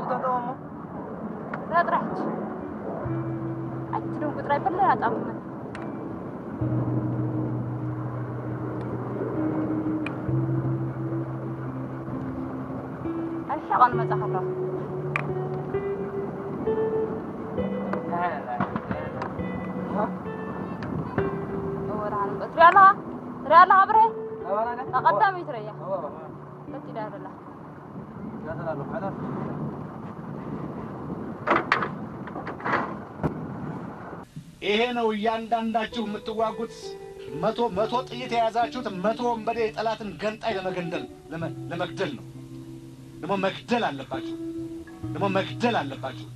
ተጠወሞ። ራጥራች። ኣቲ ደንጉ ጥራይ በለ ኣጣምመ። ኣሻ ቃል መጻ ከሎ። ወራን በትሪ ኣላ። ትሪ ኣላ ብረ። ተቐዳሚ ትረያ። በቲ ዳርላ። ይሄ ነው እያንዳንዳችሁ የምትዋጉት። መቶ መቶ ጥይት የያዛችሁት፣ መቶ ወንበዴ የጠላትን ገንጣይ ለመገንደል ለመ- ለመግደል ነው። ደግሞ መግደል አለባችሁ። ደግሞ መግደል አለባችሁ።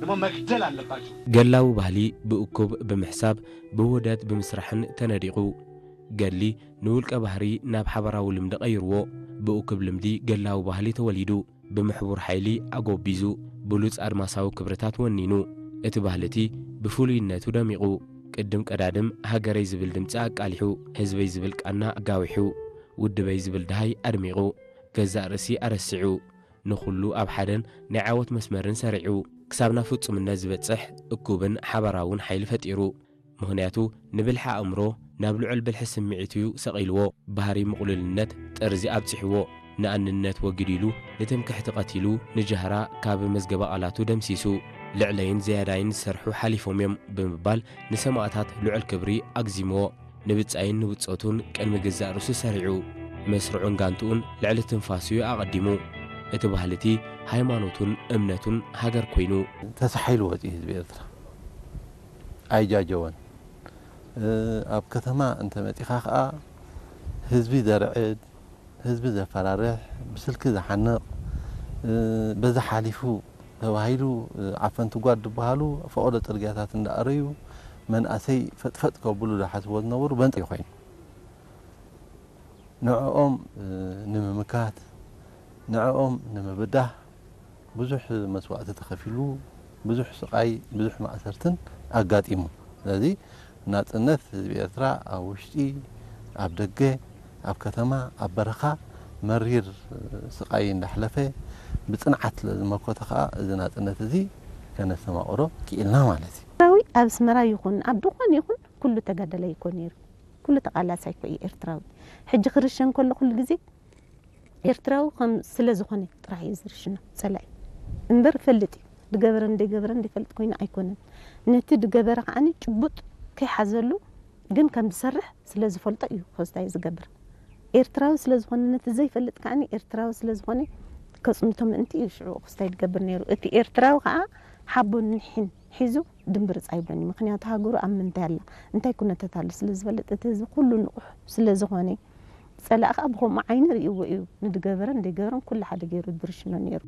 ደግሞ መግደል አለባችሁ። ገላዊ ባህሊ ብእኩብ ብምሕሳብ ብውህደት ብምስራሕን ተነዲቑ። ገድሊ ንውልቀ ባህሪ ናብ ሓበራዊ ልምዲ ቀይርዎ። ብእኩብ ልምዲ ገላዊ ባህሊ ተወሊዱ። ብምሕቡር ሓይሊ ኣጎቢዙ፣ ብሉጽ ኣድማሳዊ ክብርታት ወኒኑ። እቲ ባህሊ እቲ ብፍሉይነቱ ደሚቑ። ቅድም ቀዳድም ሃገረይ ዝብል ድምጺ ኣቃሊሑ፣ ህዝበይ ዝብል ቃና ኣጋዊሑ፣ ውድበይ ዝብል ደሃይ ኣድሚቑ፣ ገዛእ ርእሲ ኣረሲዑ፣ ንኹሉ ኣብ ሓደን ናይ ዓወት መስመርን ሰሪዑ፣ ክሳብ ናብ ፍጹምነት ዝበጽሕ እኩብን ሓባራውን ሓይሊ ፈጢሩ። ምኽንያቱ ንብልሒ ኣእምሮ ናብ ልዑል ብልሒ ስምዒት እዩ ሰቒልዎ። ባህሪ ምቕሉልነት ጠርዚ ኣብጺሕዎ። ንኣንነት ወጊዱ ኢሉ ንትምክሕቲ ቀቲሉ፣ ንጃህራ ካብ መዝገበ ቃላቱ ደምሲሱ። ልዕለይን ዝያዳይን ዝሰርሑ ሓሊፎም እዮም ብምባል ንሰማእታት ልዑል ክብሪ ኣግዚምዎ። ንብጻይን ንብጾቱን ቅድሚ ገዛእ ርእሱ ሰሪዑ። መስርዑን ጋንትኡን ልዕሊ ትንፋሱ እዩ ኣቐዲሙ። እቲ ባህሊ እቲ ሃይማኖቱን እምነቱን ሃገር ኮይኑ። ተሳሒሉ ወፂኡ ህዝቢ ኤርትራ ኣይጃጀወን። ኣብ ከተማ እንተመፂኻ ከዓ ህዝቢ ዘርዕድ፣ ህዝቢ ዘፈራርሕ፣ ብስልኪ ዝሓንቕ፣ በዚ ሓሊፉ ተባሂሉ ዓፈንቲ ጓድ ዝበሃሉ ፈቐዶ ፅርግያታት እንዳኣረዩ መናእሰይ ፈጥፈጥ ከብሉ ዝሓስብዎ ዝነበሩ በንፂ ኮይኑ ንዕኦም ንምምካት ንዕኦም ንምብዳህ ብዙሕ መስዋእቲ ተኸፊሉ ብዙሕ ስቓይ ብዙሕ ማእሰርትን ኣጋጢሙ። ስለዚ ናፅነት ህዝቢ ኤርትራ ኣብ ውሽጢ ኣብ ደገ ኣብ ከተማ ኣብ በረኻ መሪር ስቓይ እንዳሕለፈ ብፅንዓት ስለዝመከተ ከዓ እዚ ናፅነት እዚ ከነስተማቕሮ ክኢልና ማለት እዩ። ኤርትራዊ ኣብ ኣስመራ ይኹን ኣብ ዝኾነ ይኹን ኩሉ ተጋዳላይ እኮ ነይሩ። ኩሉ ተቓላሳይ እኮ እዩ ኤርትራዊ። ሕጂ ክርሸን ከሎ ኩሉ ግዜ ኤርትራዊ ከም ስለ ዝኾነ ጥራሕ እዩ ዝርሽኖ ጸላኢ። እምበር ይፈልጥ እዩ። ድገበረን ደይገበረን ድፈልጥ ኮይኑ ኣይኮነን። ነቲ ድገበረ ከዓኒ ጭቡጥ ከይሓዘሉ ግን ከም ዝሰርሕ ስለ ዝፈልጦ እዩ ክስታይ ዝገብር። ኤርትራዊ ስለ ዝኾነ ነቲ ዘይፈልጥ ከዓኒ ኤርትራዊ ስለ ዝኾነ ከጽንቶ ምእንቲ እዩ ሽዑ ክስታይ ዝገብር ነይሩ። እቲ ኤርትራዊ ከኣ ሓቦን ኒሕን ሒዙ ድምብርጽ ኣይብሎን እዩ። ምኽንያቱ ሃገሩ ኣብ ምንታይ ኣላ፣ እንታይ ኩነታት ኣሎ ስለ ዝፈልጥ፣ እቲ ህዝቢ ኩሉ ንቑሕ ስለ ዝኾነ፣ ጸላኢ ከኣ ብኸምኡ ዓይኒ ርእይዎ እዩ። ንድገበረን ደይገበረን ኩሉ ሓደ ገይሩ ድርሽኖ ነይሩ።